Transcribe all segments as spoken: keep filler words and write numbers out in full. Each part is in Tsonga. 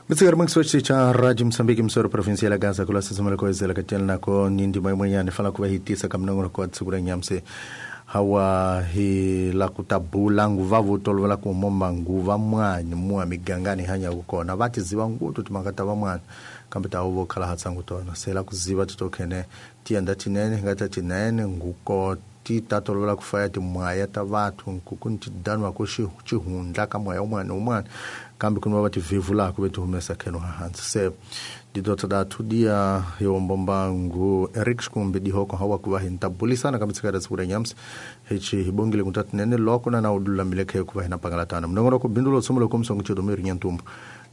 Mitsikari mangsochi cha Radio Msambiki msoro provinsia la Gaza kula sasa ko ezela katela nako nindi maimwenyane fala kuva hitisa kamnongo ko tsukura nyamse hawa hi la kutabula nguva vutolovela ku momba nguva mwanyi muwa migangani hanya kukona vati ziva ngutu timakata va mwana kambe ta uvo khala hatsangu tona sela kuziva titokhene tienda tinene ngata tinene nguko ti tatolovela kufaya timwaya ta vathu nkuku ntidanwa ku xihundla ka moya un'wana un'wana kambe ku va tivhevulaka ve ti humesa kheno hansi se didota da tudia yombombangu Eric Xikumbi dihoko hawa kuva hi ntabulisana kambe tsikara tsikura nyamsi hichi hibongile kutatinene loko na na udulamile khe kuva hina pangalatana mnongoro ku bindulo tsomulo kumsongo chedomeri nyantumbu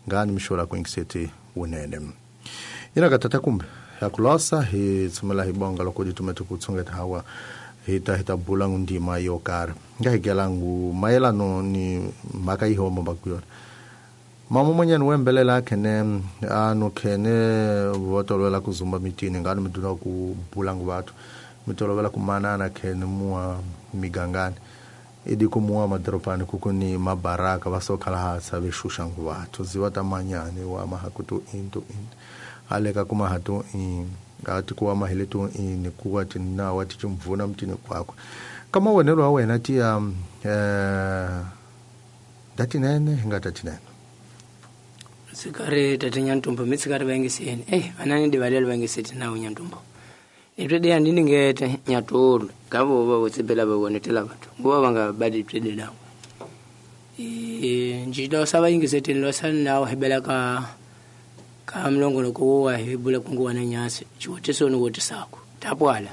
ngani mishola kuingiseti unene ina katata kumbe yakulosa hi tsumela hibonga loko ditumete kutsungeta hawa hita hita bula ndima yo karhi nga higelangu mayelano ni mhaka yi homa bakuyona mama monyani wembelela khene anu khene votolovela ku zumba mitini ngani mi dula ku bula ngu vathu mi tolovela ku manana khene muwa migangani idi ku muwa madorobani kuku ni mabaraka va so khala hatsa ve xuxa ngu vathu ziva ta manyani wa mahaku to in to in aleka kuma hatu in ngati kuwa mahele to in kuwa tinna wa tichimvuna mtini kwakwe kama wonelo wa wena tiya eh datinene hingatinene sikari tete nyantumbo mitsikari vangiseni eh anani divalelo vangiseti nawo nyantumbo itwede andiningete nyatulu ngavo va votsibela va vonetela vathu nguva va nga badi twede nawo e njida osava ingiseteni losani nawo hebela ka ka mlongo ko wa hebula kungu wana nyasi chiwoteso ni wotisako tapwala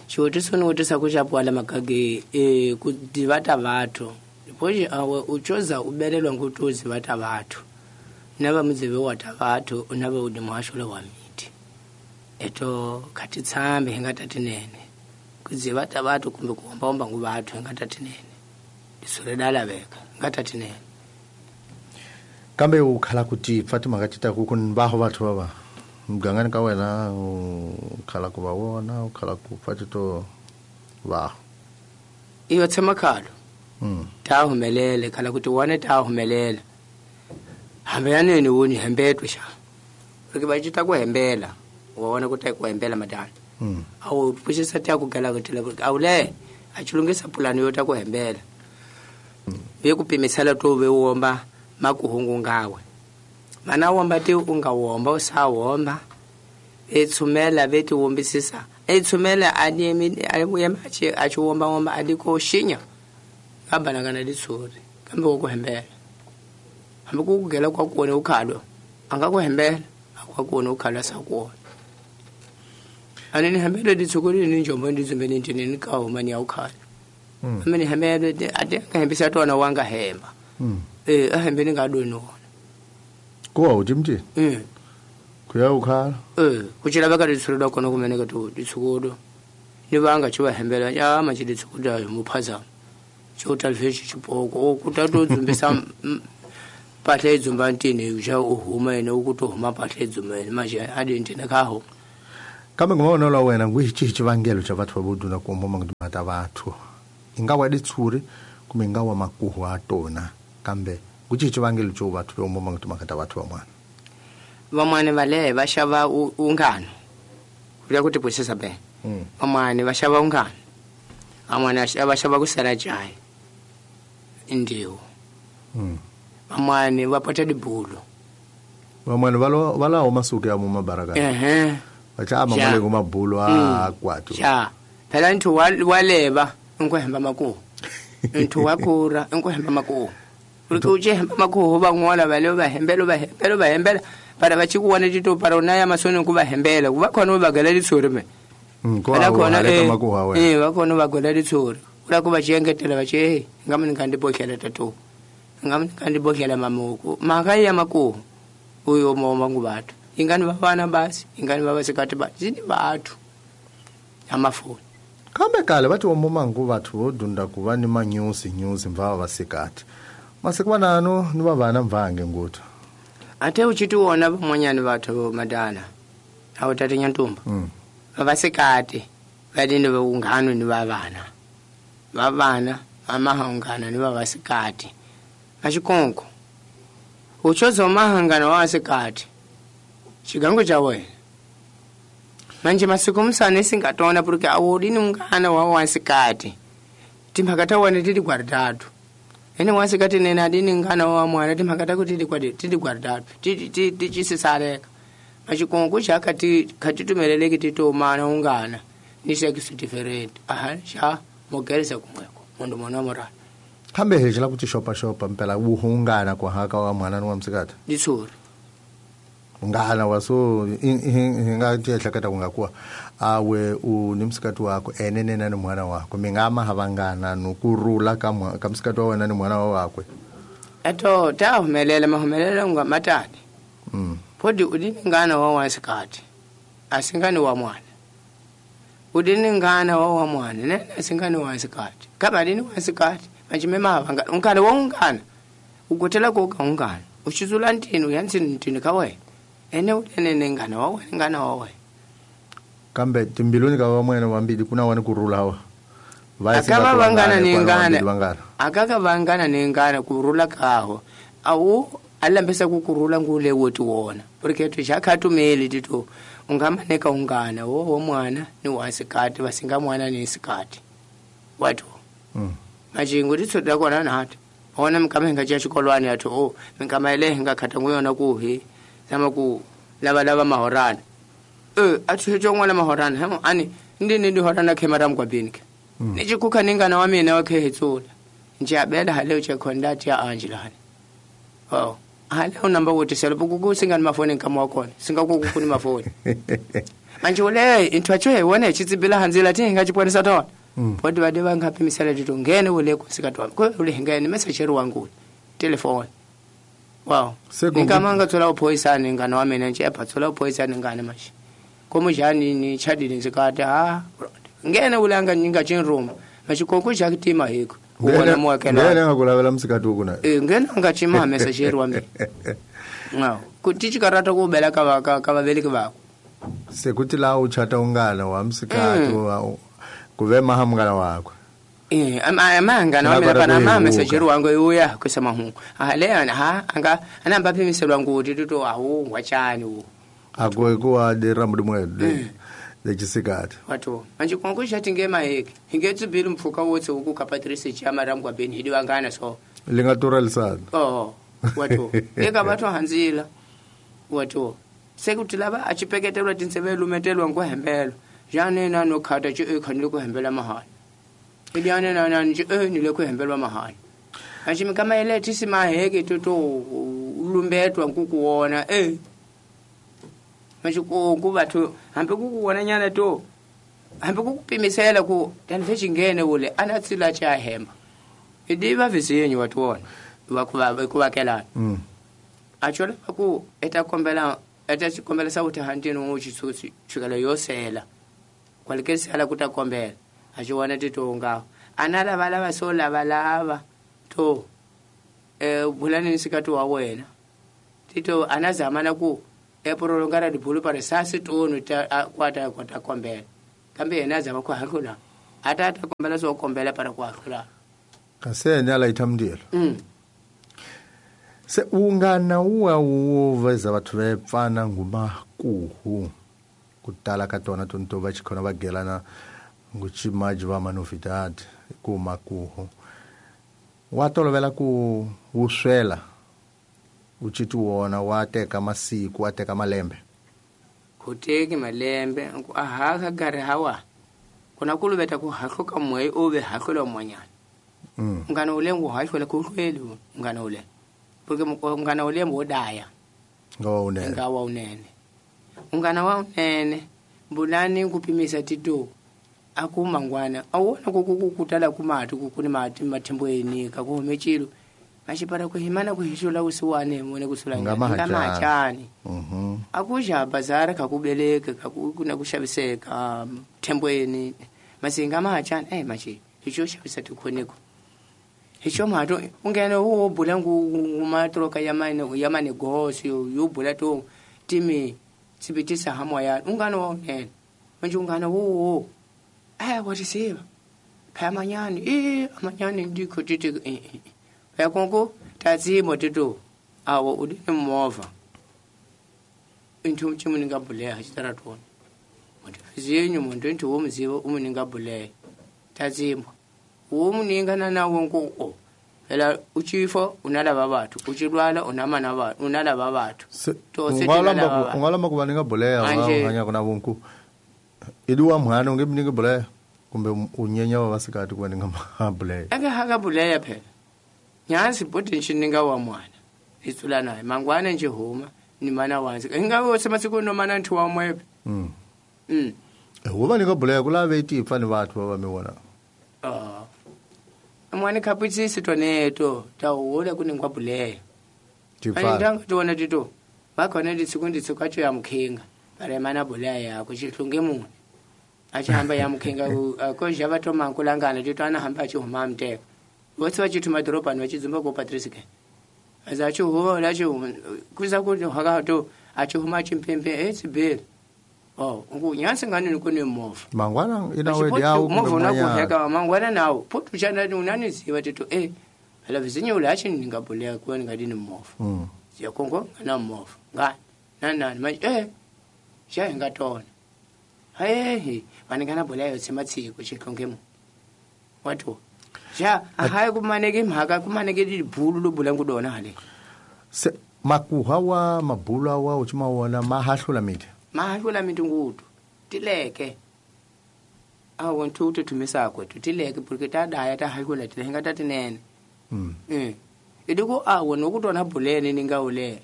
chiwoteso ni wotisako chapwala makage e kudivata vathu poje awe uchoza ubelelwa ngutuzi vata vathu nava muzive wata vathu unava udi muhashulo wa miti eto katitsambe hingatatinene kuzivata vathu kumbe kuombaomba ngu vathu hingatatinene disure dalaveka hingatatinene kambe ukhala kuti Fatima katita ku kunbaho vathu vava mugangani ka wena ukhala ku va vona ukhala ku fatito va iyo tshama khalo mm ta humelele khala kuti wane ta humelela hambe yaneni woni hembetwe xa rike va cita ku hembela wa vona ku ta ku hembela madana mm awu pfuxisa ta ku gala ku tela awule a chilungisa pulani yo ta ku hembela ve ku pimisela to ve womba makuhungu ngawe mana womba ti u nga womba u sa womba etsumela veti wombisisa etsumela ani a chi a chi womba womba adiko shinya abana kana ditsuri kambe wo ku hembela hambi ku kugela kwa kuone ukhalo anga ku hembela akwa kuone ukhalo sa kuona ani ni hembele ditsukuri ni njombo ndizumbe ni ntini ni ka huma ni ukhalo mm. Amene hembele ate nga hembisa tona wanga hemba mm. Eh ahembe ni ngadoni wona kuwa utimti eh kuya ukhala eh kuchila baka ditsuri dakona kumeneka to ditsukudo ni vanga chiva hembela ya ma chiditsukuda muphazama chota lveshi chipoko okutato dzumbisa pahla edzumba ntini uja uhuma yena ukuthi uhuma pahla edzumba yena manje adintene kaho kambe ngomona la wena ngwichi chivangelo cha vathu vabuduna kuomba ngimata vathu ingawa ditsuri kumbe ingawa makuhu atona kambe nguchi chivangelo cho vathu veomba ngimata vathu vamwana vamwana vale va xava ungano kuya kuti pwesesa be vamwana va xava ungano amwana va xava ku sala jayi ndiwo mm vamwana va pata dibulu vamwana valo valawo masuku ya mu mabaraka ehe vacha mamale ku mabulu a kwatu ya phela nthu wa leva nkuhemba makuhu nthu wa kura nkuhemba makuhu uri ku hemba makuhu van'wana vale va hembela va hembela va hembela para va chikuwana tito para unaya masoni ku va hembela ku va khona va gela litsuri me phela khona eh va khona va gela litsuri ula ku va chiengetela va che nga mani nga ndibohlela tatu nga mani nga ndibohlela mamuku maka ya makuhu uyo moma ngubathu ingani vavana basi ingani vava sikati basi ni vathu amafoni kambe kale vati omoma nguvathu vo dunda ku va ni manyusi nyusi mvava vasikati masiku vanano ni vavana mvange nguthu ate uchitiwona vamwanyani vathu madana awu tate nyantumba mm. Vavasikati vadini vaungano ni vavana vavana vamahungana ni vavasikati vaxikonko Uchozo mahangana wasikati chigango cha wena manje masiku musane singatona porque awodini ungana wa wasikati timphakata wane tili gwaritatu ene wasikati nene adini ngana wa mwana timphakata kuti tili kwadi tili gwaritatu ticisisaleka machikongo chakati katitumeleleki titomana ungana ni sex different aha sha mogereza kumweko mundu mona morala kambe hejela kuti shopa shopa mpela wuhungana kwa haka wa mwana wa msikati ditsuri ungana waso hinga tiehleketa kungakuwa awe u ni msikati wako enene na ni mwana wako mingama havangana nukurula ka ka msikati wa wena ni mwana wakwe eto ta humelela mahumelela unga matani mm podi udini ngana wa wasikati asingani wa mwana udini ngana wa wa mwana nene asingani wa sikati kaba dini wa sikati machimema havanga ungana wa ungana ugotela koka ungana uchizula ntini uyantsini ntini kawe ene ulenene ngana wa wena ngana wa wena kambe timbiluni ka wa mwene wambili kuna wani kurula hawa akava vangana ni ngana akaka vangana ni ngana kurula kaho awu alambesa kukurula ngule woti wona porque tichakatumeli tito ungamaneka ungana wo wo mwana ni wasikati vasinga mwana ni sikati watu mm. machingu titsoda kona nati ona mkama hinga cha xikolwani athu o minkama ile hinga khata nguyona kuhi zama ku lava lava mahorana e athu cho n'wana mahorana hemo ani ndi ndi horana khemara mkwabini ke Mm. ni chikukha ningana wa mina wa khehetsula njabela hale che conduct ya Angela hani oh hale unamba wothi selo singani mafoni nkama wakona singakuku kuni mafoni manje ule into acho wona chitsibila hanzila ti hinga chipwanisa tona Mm. podi vade vangaphimisela tito ngene ule kusikatwa ko ule ngene message ri wangu telefone wow Sekungu- ngikamanga tsola uphoyisane ngana wa mina nje epha tsola uphoyisane ngana manje komujani ni chadini nzikati ha ngene ule anga nyinga chinruma machikoko chakutima hiko uwona mwakela ngene ngakulavela msikati ukuna Eh, ngene anga chima message ri wa mina wow kuti chikarata kubela ka ka ka vaveleki vako sekuti la uchata ungana wa msikati Mm. wa kuve maha mngana wakwe Eh, ama amanga na Nakora mina pana ama kuyihuka. message wangu uya kwesa mahungu. Ah le ha anga anamba phimiselwa nguti tuto awu ngwachani wo. akwekuwa dera mudimwe lechisikati Wato manje konko chati ngema heki. Hinge tsibili mpfuka wotse uku ka Patrice chama rangwa beni hidi wangana so. lingaturalisana Oh wato eka batho hanzila. Wato sekuti lava achipeketelwa tintseve lumetelwa ngohembelo. Jane na no khata chi e khanile ku hembela mahala. Idyane na na nje e nile ku hembelwa mahala. Achi kama ile tisi maheke toto lumbetwa nkukuona eh. Manje ku ku batho hambe kukuona nyana to. Hambe kukupimisela ku tanve ule anatsila cha hemba. Idiva vizinyo watu wona wakuva kuvakelana. mm. Achola ku eta kombela eta chikombela sauti hantini uchitsutsi chikala yosela. Kwalikesela kutakombela achiwana titonga ana lava lava so lava lava to eh bulani nisikati wa wena tito anazamana ku eprolongara dibulu pare sasi tonu ta kwata kwata kombela kambe yena azama ku hahlula atata kombela so kombela para ku hahlula kasene alaitha mndilo mm se ungana uwa uwoveza bathu vepfana ngumakuhu kutala ka tona tonto va chikhona va gelana nguchimaji va manovidade kumakuhu wa tolovela ku wu swela u chiti wona wa teka masiku wa teka malembe kuteki malembe ku aha ka gari hawa kuna kuluveta ku hahluka moya o ve hahlula monyana mm. ngana ule ngu hahlula ku hlweli ngana ule porque ngana ule mbodaya nga wa unene nga wa unene ungana wa unene bulani kupimisa tito akumangwana awona kukukutala kumati kukuni mati mathembweni kakuhumechilo machipara kuhimana kuhishula usiwane mone kusula Ngamahachani. ngamachani Mhm. akusha bazara kakubeleka kakuna kushaviseka thembweni masinga mahachani eh machi icho shavisa tikhoneko icho mato ungene uwo bula ngumatroka yamane yamane gosi yobula to timi tsibitisa hamoya ungana wa unene manje ungana wo eh what is it phamanyani eh amanyani ndikho titi eh eh yakonko tatsimo tito Awo u dine movha inthu chimu ninga buleya xitaratoni muntu zinyu muntu inthu wo muziva u muninga buleya tazimbwa wo muninga na nawo nku o phela uchifo unalava bathu uchilwala unamana bathu unalava bathu to se ungalamba ungalamba kuva ninga buleya hanya kuna vunku iduwa mwana unge ninga buleya kumbe unyenya wa vasikati kuva ninga buleya aka haka buleya phela nyansi potential ninga wa mwana itsula naye mangwana nje huma ni mana wanzi inga wose masiku no mana nthu wa mwepe mm mm huva ninga buleya kulave tipfa ni vathu va mi vona ah mwana kapitsisi toneto tawula kuningwa buleya tipfa ndanga tona tito vakhona nditsikundi tsikwacho ya mukhinga pare mana buleya yako chihlunge munhu achihamba ya mukhinga kozha vatoma kulangana tito anahamba achihuma mteka vose vachituma madhorobhani vachidzumba ko Patrice ke azachihuva lacho kuza kuti hakato achihuma chimpempe etsibheli oh nyansi ngani kune movha mangwana ina wedi yawo movha unakuheka mangwana nawo potu chana unaniziva tito eh phela vizinyo lachi ndingabhuleya kuwa ndingadini movha mm yakongo ngana movha ngani nanani manje eh xa hingatona hayehe vaningana buleya yotshema tshiko xihlongemo wato ja ahaye kumaneke mhaka kumaneke libhulu lobula ngudona hale se makuha wa mabulu awa uchimawona mahahlula miti mahahlula miti ngutu tileke awo nthu tumisako tileke porque tadaya tahahlula tilenga tatinene mm mm iduko awo nokutona bulene ningawule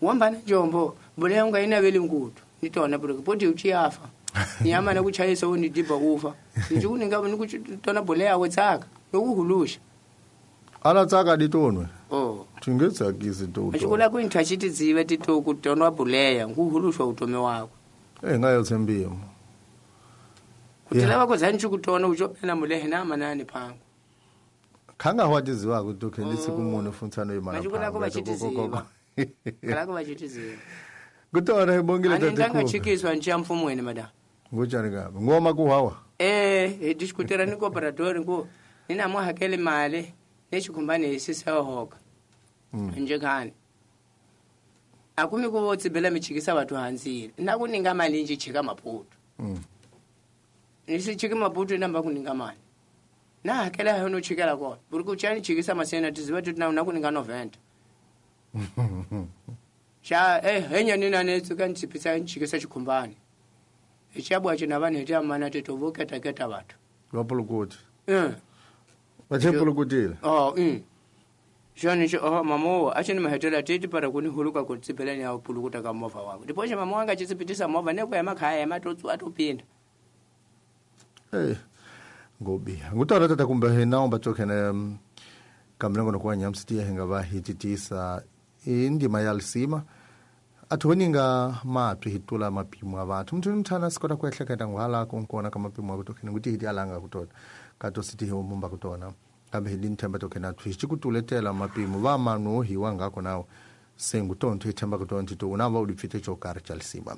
wambana jombo buleya ungayinaveli ngutu nitona porque poti uchiyafa nyama nakuchayisa unidibha ufa nje nikuchitona buleya wetsaka nokuhulusha ala tsaka ditonwe oh tingetsakisi to achikula kuinthu achitidzive tito kutonwa buleya nguhulushwa utome wako eh ngayothembiwa kutela vako zani chikutona uchopena mulehe namanani phango khanga hwatiziwa kuti okay ndisikumunhu funtsano imana machikula vachitiziva kalako vachitiziva kutona ibongile ani ndangachikiswa nje mfumweni madam ngutshani kabi ngoma kuhawa eh diskutera ni cooperatori ngo ninamuhakele mali nechikumbane isisehoka mm. nje khani akumi kuvo tsibela michikisa vathu hanzile nakuninga mali nje chika maputo mm. nisichike maputo namba kuninga mali na hakela hono chikela kona buri kuchani chikisa masena tiziva tuti na nakuninga noventa cha eh henya nina netsuka ntsipisa nchikisa chikumbane ichabwa china vanhu eti amana tetovoketa keta vathu vapulukuti eh vachepulukutile oh mm shani cho oh mamo achini mahetela titi para kuni huluka kutsipelani ya pulukuta ka movha wako ndipoche mamo wanga chitsipitisa movha neko ya makhaya matotsu atopinda eh ngobi ngutara tata kumbe hina umbatokene kamlengo nokuwa nyamsitiya hinga va hititisa indima ya lisima athoninga matwi hitula mapimo a vathu muthu mthana sikota ku ehleketa ngwala konkona ka mapimo a kutokhene kuti hiti alanga kutona kato siti hi mumba kutona kambe hi nthemba tokhena thwi xikutuletela mapimo va manu hiwa ngako nawo sengutontho hi themba kutontho to una va u dipfite xo karhi xa lisima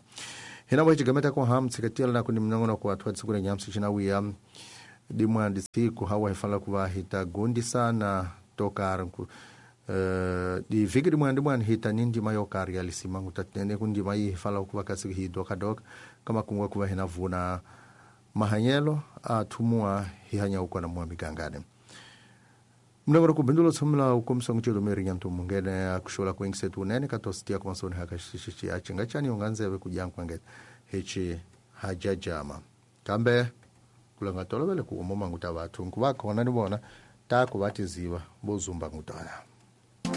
hina va xigameta ku ham tshiketela na ku ni minongonoko wa thwa siku lenyamsi xina wiya dimwa disiku hawa hi fanela ku va hi ta gundisana to karhi ku Uh, di vhiki rin'wana rin'wana hi ta ni ndima yo karhi ya lisima ngutatene ku ndima yi hi fanela ku va kasi hi dokadoka ka makungu ku va hina vuna mahanyelo a thumuwa hi hanya ukona mwa migangane mlengoro ku bindulo tshomela u komisa ngutshelo meri nyanto mungene akushola ku ingsetu unene ka tositia ku masoni haka xixixi a chinga chani unganzeve ku jankwa ngete hechi hajajama kambe kulanga tolovele ku umoma nguta vathu nkuva khona ni vona ta ku va tiziva vo zumba ngutana.